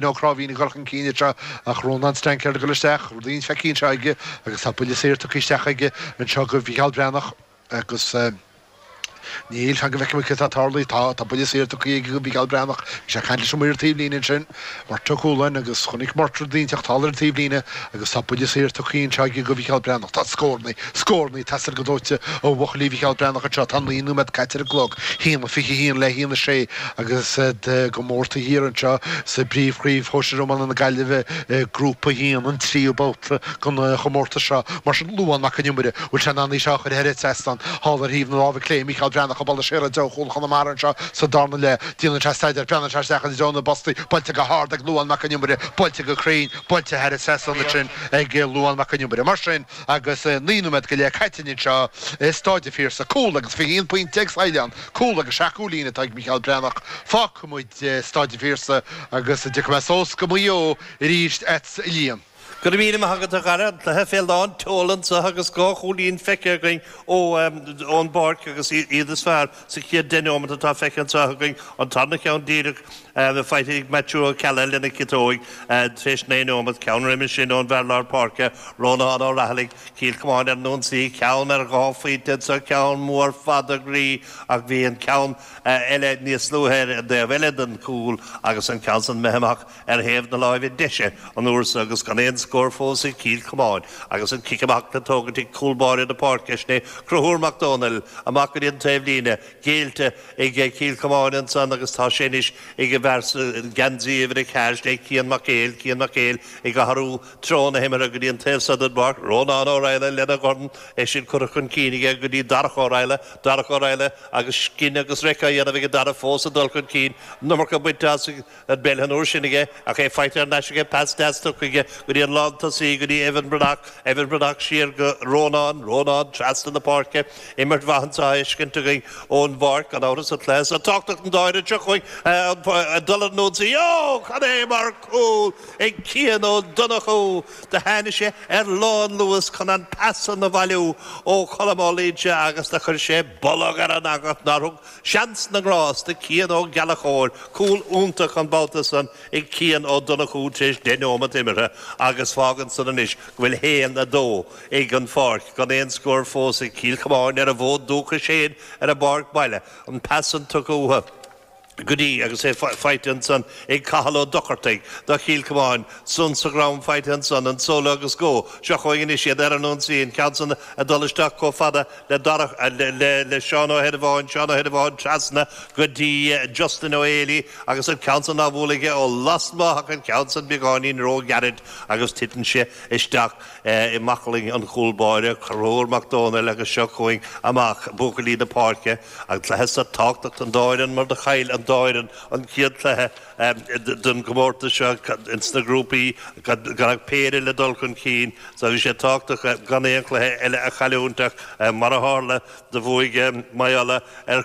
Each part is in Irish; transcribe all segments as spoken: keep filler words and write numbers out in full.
Ó Cráibhín ag dul chun cinn anseo ach Rónán Stanker ag dul isteach, rudaí feicthe anseo aige agus tá buille saor tugtha isteach aige anseo go Mhícheál Breathnach agus níl fan go bhfeicfidh muid cad atá ag tarlú. Tá tá buille saor tugtha aige go Mhícheál Breathnach. Bhí sé ag caint leis an maor taobhlíne ansin, Murt Ó Cualáin, agus chonaic Murt rud inteacht thall ar an taobhlíne agus tá buille saor tugtha anseo aige go Mhícheál Breathnach. Tá scórannaí, scórannaí ag teastáil go dóite ó bhuachaillí Mhícheál Breathnach anseo. Tá naoi nóiméad caite ar an gclog, haon a fiche haon le haon a sé agus iad go mór taobh thiar anseo sa bpríomhchraobh shóisir iomána na Gaillimhe, Grúpa a haon, an tríú babhta den chomórtas seo. Mar sin, Luán Mac an Iomaire, bhfuil sé in ann í seo a chur thar an trasnán thall ar thaobh na láimhe clé, Mícheál Breathnach ag bualadh siar i dtreo chúl Chonamara anseo sa darna leath. Déanann sé staidéar, breathnaíonn sé isteach i dtreo na bpostaí, buailte go hard ag Luán Mac an Iomaire, buailte go cruinn, buailte thar an trasnán ansin ag Luán Mac an Iomaire. Mar sin, agus naoi nóiméad go leith caite anseo i Stáid an Phiarsaigh, cúl agus fiche haon pointe ag Saighleán, cúl agus seacht gcúilín atá ag Mícheál Breathnach. Fágfaidh muid Stáid an Phiarsaigh agus tiocfaidh mé suas go Maigh Eo arís agatsa a Liam. Go raibh míle maith agat a Dhara, an cluiche fé lán tseoil anseo agus dhá chúilín feicthe againn ón bpáirc agus iad is fearr sa chéad deich neomat atá feicthe anseo againn. An tarna ceann díreach faighte ag Maitiú Ó Ceallaigh lena chiotóig tar éis naoi neomat, ceann roimhe sin ón bhfear lár páirce, Rónán Ó Raghallaigh, Cill Chomáin ar an ionsaí, ceann ar dhá phointe anseo, ceann mór fada groí ach bhí an ceann eile níos luaithe ar an dtaobh eile den chúl agus an ceann san imithe amach ar thaobh na láimhe deise an uair so agus gan aon scór fós ag Cill Chomáin agus an cic amach le tógaint ag cúl báire na páirce, sin é Conchúr Mac Dónaill, amach go dtí an taobhlíne, géillte ag Cill Chomáin ansan agus tá sé anois ag an bhfear sa gheansaí uimhir a ceathair, sin é Cian Mac Éil, Cian Mac Éil ag athrú treo na himeartha go dtí an taobh so den bpáirc, Rónán Ó Raghallaigh lena dhorn, é sin curtha chun cinn aige go dtí Darach Ó Raghallaigh, Darach Ó Raghallaigh agus scin agus reic á dhéanamh aige Darach fós ag dul chun cinn, an iomarca bainte as an bpeil an uair sin aige ach é faighte thar n-ais aige, pas deas tugtha aige go dtí an lántosaí, go dtí Evan Breathnach, Evan Breathnach siar go Rónán, Rónán trasna na páirce, imirt mhaith anseo á fheiscint againn ón bpáirc, gan amhras an cluiche seo tábhachtach don dá fhoireann seo chugainn ag dul ar an ionsaí, Ó! Cad é mar chúl ag Cian Ó Donnchú! Do tháinig sé ar lánluas chun an pas san a bhailiú ó Cholm Ó Loingsigh agus do chuir sé bolg ar an eangach nár thug seans na ngrást do Cian Ó Gallchóir. Cúl iontach an babhta san ag Cian Ó Donnchú tar éis deich nóimeat imeartha agus fágann san anois go bhfuil haon, a dó ag an Pháirc gan aon scór fós ag Cill Chomáin ar a bhfód dúchais féin ar a bpáirc baile. An pas san tugtha uathu go dtí agus é faighte ansan ag Cathal Ó Dochartaigh do Chill Chomáin. San sa dhrom faighte ansan, an solo agus go. Seo chugainn anois iad ar an ionsaí, an ceann san ag dul isteach chomh fada le Darach, le, le Seán Ó hEireamhóin, Seán Ó hEireamhóin trasna go dtí Justin Ó Héalaí agus an ceann san á bhualadh aige ó lasmuigh ach an ceann san beagáinín ró-ghairid agus titeann sé isteach i mbaclainn an chúl báire, Conchúr Mac Dónaill agus seo chugainn amach buachaillí na páirce. An cluiche seo tábhachtach don dá fhoireann mar do chaill an dá fhoireann an chéad chluiche den gcomórtas seo ins na grúpaí gan ach péire le dul chun cinn so bhí sé tábhachtach gan aon chluiche eile a chailliúint ach mar a tharla do bhuaigh Maigh Uladh ar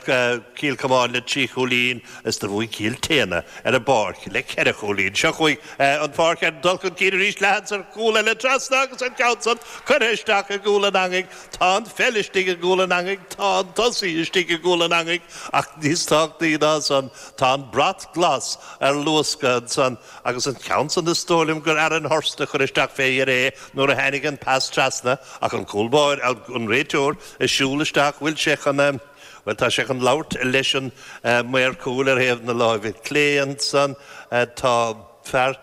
Chill Chomáin le trí chúilín is do bhuaigh Cill tSéadhna ar an bPáirc le ceithre chúilín. Seo chugainn an Pháirc ag dul chun cinn arís leath seans ar chúl eile trasna agus an ceann san curtha isteach i gcúl an eangaigh. Tá an pheil istigh i gcúl an eangaigh, tá an tosaí istigh i gcúl an eangaigh ach níos tábhachtaí ná san tá an brat glas ar luascadh ansan agus an ceann san is dóigh liom gur Aaron Hurst a chuir isteach fé dheireadh é nuair a tháinig an pas trasna ach an cúl báire, an réiteoir ag siúl isteach, bhfuil sé chun, bhuel tá sé chun labhairt leis an maor cúil ar thaobh na láimhe clé ansan, tá fear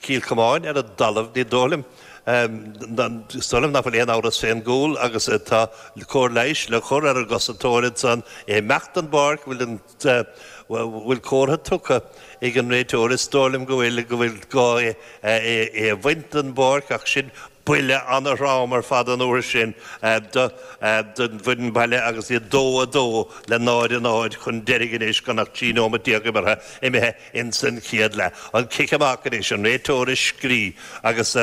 Chill Chomáin ar an dtalamh, ní dóigh liom, is dóigh liom nach bhfuil aon amhras fén gcúl agus tá cóir leighis le cur ar an gcosantóir ansan, é imeacht den bpáirc, bhfuil an, bhfuil comhartha tugtha ag an réiteoir, is dóigh liom go bhfuil, go bhfuil gá é é a bhaint den bpáirc ach sin buille ana-throm ar fad an uair sin don bhfoireann baile agus iad dó a dó le náid a náid chun deiridh anois gan ach trí nóimeat déag imeartha imithe ins an chéad leath. An cic amach anois, an réiteoir ag scrí agus,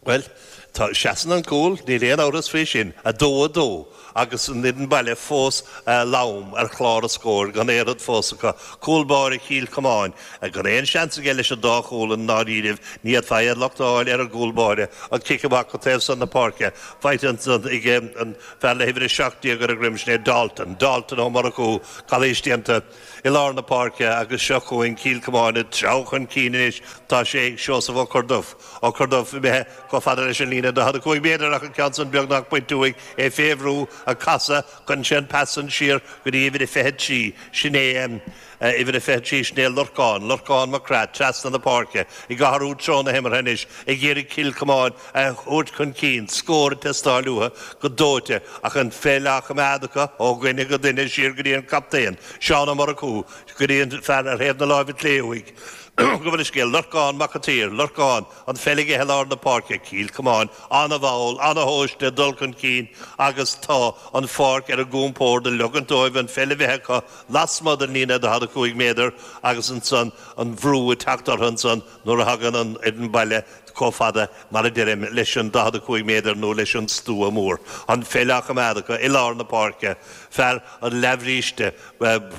bhuel, Tá seasann an cúl, níl aon amhras faoi sin, a dó a dó, agus an fhoireann baile fós lom ar chlár an scóir, gan aon rud fós acu. Cúl báire Chill Chomáin, gan aon seans aige leis an dá chúl i ndáiríribh, ní fhéadfá aon locht a fháil ar an gcúl báire, an cic amach go taobh san na páirce, faighte ansan ag an fear le huimhir a seacht déag ar a dhroim, sin é Dalton, Dalton Ó Murchú, calaois déanta i lár na páirce agus seo chugainn Cill Chomáin ag treabhadh chun cinn anois, tá sé ag Seosamh Ó Corrduibh, Ó Corrduibh imithe chomh fada leis an líne daichead a cúig méadar ach an ceann san beagnach bainte uaidh, é fé bhrú, ag casadh, cuireann sé an pas san siar go dtí uimhir a fiche trí, sin é uimhir a fiche trí, sin é Lorcán, Lorcán Mac Craith, trasna na páirce, ag athrú treo na himeartha anois, ag iarraidh Cill Chomáin a thabhairt chun cinn, scór ag teastáil uathu go dóite ach an pheil á choimeád acu ó dhuine go duine siar go dtí an captaen, Seán Ó Murchú, go dtí an fear ar thaobh na láimhe clé uaidh. Gabh mo leithscéal, Lorcán Mac an tSaoir, Lorcán, an pheil aige i lár na páirce, Cill Chomáin, an-mhall, an-thomhaiste ag dul chun cinn agus tá an pháirc ar a gcompord ag leogaint dóibh an pheil a bheith acu lasmuigh den líne daichead a cúig méadar agus ansan an bhrú ag teacht orthu ansan nuair a thagann an fhoireann baile chomh fada, mar a deirim, leis an daichead a cúig méadar nó leis an stua mór. An pheil á choimeád acu i lár na páirce, fear an leathbhríste,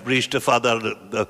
bríste fada ar.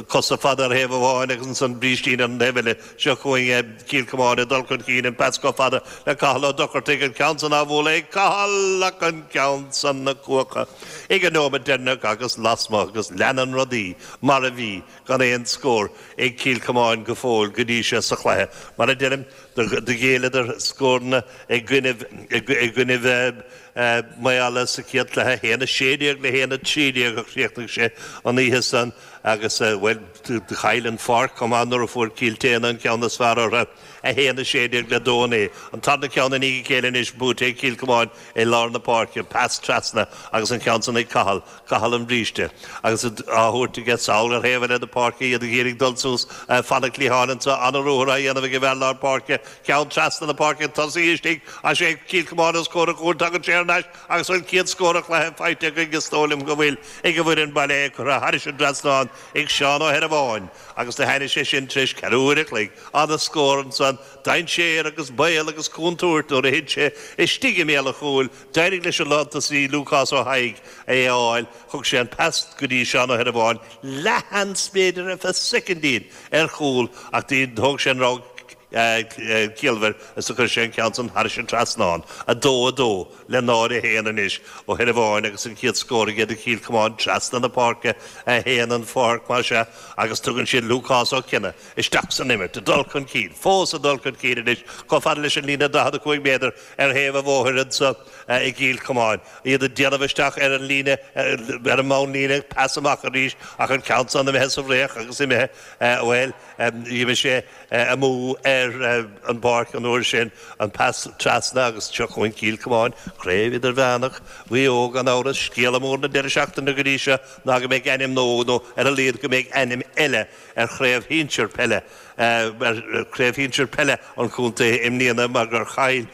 Cosa fada ar thaobh amháin agus ansan brístín ar an taobh eile. Seo chugainn Cill Chomáin ag dul chun cinn, an pas chomh fada le Cathal Ó Dochartaigh, an ceann san á bhualadh ag Cathal ach an ceann san ag cuachadh ag an nóiméad deireanach agus lasmuigh agus leanann rudaí mar a bhí gan aon scór ag Cill Chomáin go fóill go dtí seo sa chluiche. Mar a deirim, do ghéilleadar scóranna i gcoinnibh i gcoinnibh Maigh Eala sa chéad chluiche, a haon a sé déag le haon a trí déag a chríochnaigh sé an oíche san agus, bhuel, do chaill an Pháirc chomh maith nuair a fuair Cill tSéadhna an ceann is fearr orthu, a haon a sé déag le dó a naoi. An tarna ceann i ndiaidh a chéile anois buaite ag Cill Chomáin i lár na páirce, pas trasna agus an ceann san ag Cathal, Cathal an bhríste agus á thabhairt aige sall ar thaobh eile na páirce, iad ag iarraidh dul suas fan an chliatháin anseo, an-ruathar á dhéanamh ag an bhfear lár páirce, ceann trasna na páirce, tosaí istigh, is é Cill Chomáin os comhair an chúil, tagann sé thar n-ais agus an chéad scór an chluiche faighte againn, is dóigh liom go bhfuil, ag an bhfoireann baile, é curtha thairis an dtrasnán ag Seán Ó hEireamhóin agus do tháinig sé sin tar éis ceathrú uair a chloig. Ana-scór ansan, dainséar agus baol agus contúirt nuair a thit sé istigh i mbéal an chúil. D'éirigh leis an lántosaí Lúcás Ó hAigh é a fháil, thug sé an pas go dtí Seán Ó hEireamhóin, leathsheans b'fhéidir ar feadh soicindín ar chúl ach thóg sé an rogha ciallmhar is do chuir sé an ceann san thairis an trasnán. A dó a dó le náid a haon anois Ó hEireamhóin agus an chéad scór aige do Chill Chomáin trasna na páirce a haon an pháirc mar sea agus tugann siad Lúcás Ó Cionnaith isteach san imirt ag dul chun cinn fós ag dul chun cinn anois chomh fada leis an líne daichead a cúig méadar ar thaobh an bhóthair anseo i gCill Chomáin. Iad ag déanamh isteach ar an líne ar an mbonnlíne pas amach arís ach an ceann san imithe sa bhfraoch agus imithe bhuel d'imigh sé amú ar an bpáirc an uair sin, an pas trasna agus seo chugainn Cill Chomáin, Craobh Idirmheánach Mhaigh Eo gan amhras, scéala mór na deireadh seachtaine go dtí seo ná go mbeidh ainm nua nó ar a laghad go mbeidh ainm eile ar chraobh shinsir peile ar chraobh shinsir peile an chontae i mbliana mar gur chaill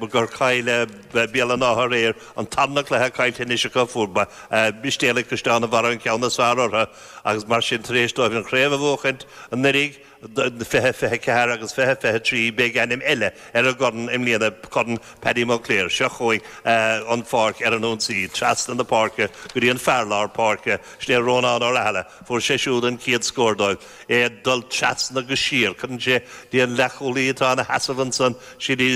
gur chaill Béal an Átha aréir an tarna cluiche caillte anois acu, fuair Mistéalaigh Caisleán an Bharraigh an ceann is fearr orthu agus mar sin tar éis dóibh an chraobh a bhuachaint anuraidh, fiche fiche a ceathair agus fiche fiche a trí, beidh ainm eile ar an gcorn i mbliana, Corn Paddy Moclair. Seo chugainn an pháirc ar an ionsaí, trasna na páirce go dtí an fear lár páirce, sin é Rónán Ó Rathaille. Fuair sé siúd an chéad scór dóibh. É ag dul trasna go siar, cuireann sé dtí an leathchúlaí atá ina sheasamh ansan, sin í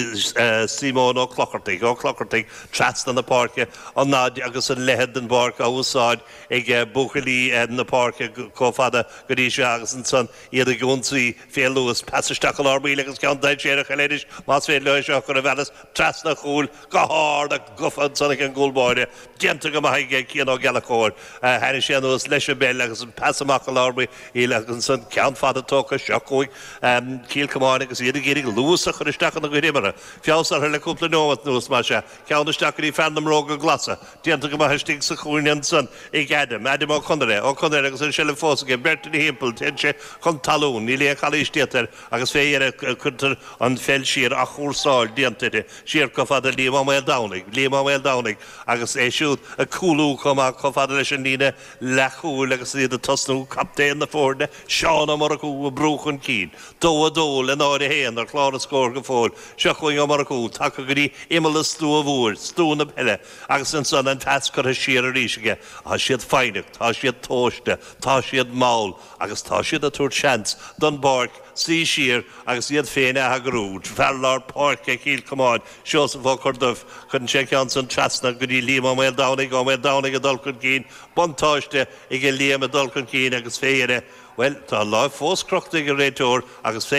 Simón Ó Clochartaigh, Ó Clochartaigh, trasna na páirce, an fhad agus an leithead den bpáirc á úsáid ag buachaillí na páirce chomh fada go dtí seo agus ansan iad ag ionsaí fé luas, pas isteach i lár baill agus ceann dainséarach eile anois más féidir leo é seo a chur i bhfearas trasna an chúil go hard ach gafa ansan ag an gcúl báire. Déanta go maith aige Cian Ó Gallchóir. Tháinig sé anuas leis an bpeil agus an pas amach i lár baill agus ansan ceann fada tógtha. Seo chugainn Cill Chomáin agus iad ag iarraidh luas a chur isteach ina gcuid imeartha. Feabhas orthu le cúpla nóiméad anuas, más ea. Ceann isteach go dtí fear na mbróga glasa. Déanta go maith istigh sa chúinne ansan ag Adam, Adam Ó Conaire, Ó Conaire agus an seilbh fós aige, beirt ina thimpeall, téann sé chun talún, níl aon chalaois déanta air agus fé dheireadh cuirtear an pheil siar, athchúrsáil déanta uirthi, siar chomh fada le Liam Ó Maoldomhnaigh, Liam Ó Maoldomhnaigh agus é siúd ag cúlú chomh maith chomh fada leis an líne leathchúil agus iad ag tosnú, captaen Captaen na foirne, Seán Ó Murchú ag brú chun cinn. Dó a dó le náid a haon ar chlár na scór go fóill. Seo chugainn Ó Murchú, tagtha go dtí imeall an stua mhóir, stua na peile, agus ansan an pas curtha siar arís aige. Tá siad foighneach, tá siad tomhaiste, tá siad mall agus tá siad ag tabhairt seans don bPáirc suí siar agus iad féin a eagrú. Fear lár páirce Chill Chomáin, Seosamh Ó Corduff, cuireann sé ceann san trasna go dtí Liam Ó Maoldomhnaigh, Ó Maoldomhnaigh ag dul chun cinn, buntáiste ag Liam ag dul chun cinn agus fé dheireadh, bhuel, tá an lámh fós crochta ag an réiteoir agus fé